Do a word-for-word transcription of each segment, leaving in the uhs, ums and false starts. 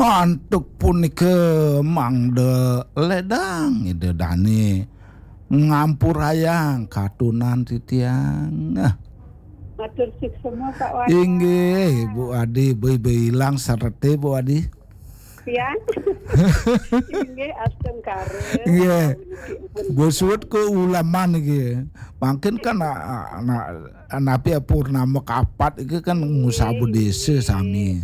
Antuk punika mangda ledang Ida Dane ngampurayang katunan titiang. Nah, Matur suksma Pak Wayan. Inggih, Bu Adi, beuh-beuh ilang sarete, Bu Adi. Tiang. Inggih, astungkara. Inggih. Bosut ke ulaman iki. Mangkin kan na, na, napi purnama kapat iki kan ngusaba desa sami.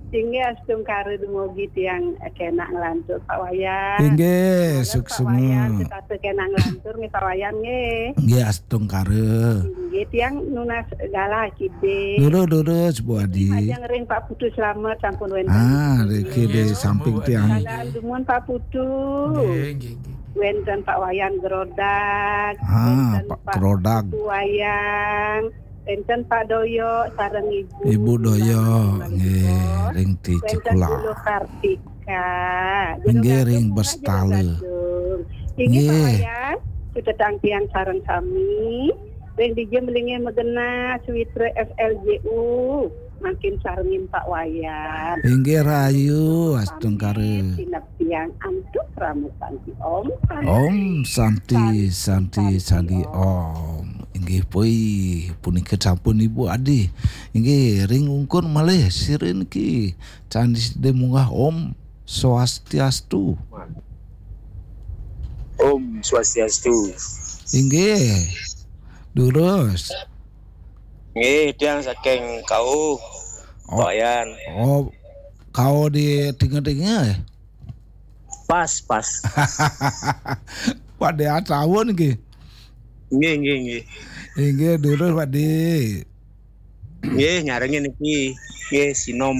Inggih, astungkara, dumugi tiang kenak nglantur Pak Wayan. Inggih, Pak Wayan, suksma. Tetata kenak nglantur nggih Pak Wayan nggih. Inggih, astungkara. Inggih, tiang nunas galah kidih. Durus, durus, Bu Adi. Majeng ring Pak Putu Slamet sampun wénten. Ah, riki di samping tiang. Salam dumun Pak Putu. Nggih, nggih, nggih. Wénten Pak Wayan Gerodak. Ah, Wénten Pak Gerodak. Putu Wayang. Wénten Pak Doyo sareng Ibu. Ibu Doyo, Sareng nggih, Ibu. ring Wénten Tikula. Guru Kartika. Inggih, Guru ring Kartika Bestala. Gadung. Inggih, Nggih. Pak Wayan, tetang tiang sareng sami. Ring dija melingih magenah Switra F L J U. Mangkin sarengin Pak Wayan. Inggih rahayu, astungkara. Sinep tiang antuk ramutan ti Om. Om Santi, Santi, Santi, Om. Inggih poi, punika sampun Ibu Adi. Inggih, ring ungkur malih sira niki. Candi sida munggah Om Swastiastu. Om Swastiastu. Inggih. Durus. Nggih, tiang saking Kau. Oh. Pak Yan. Oh, kau di tengah-tengah. Pas, pas. Pak Dea tahun nggih. Nggih, nggih, nggih. Inggih durus Pak Di. Nggih, nyarengin niki. Nggih, sinom.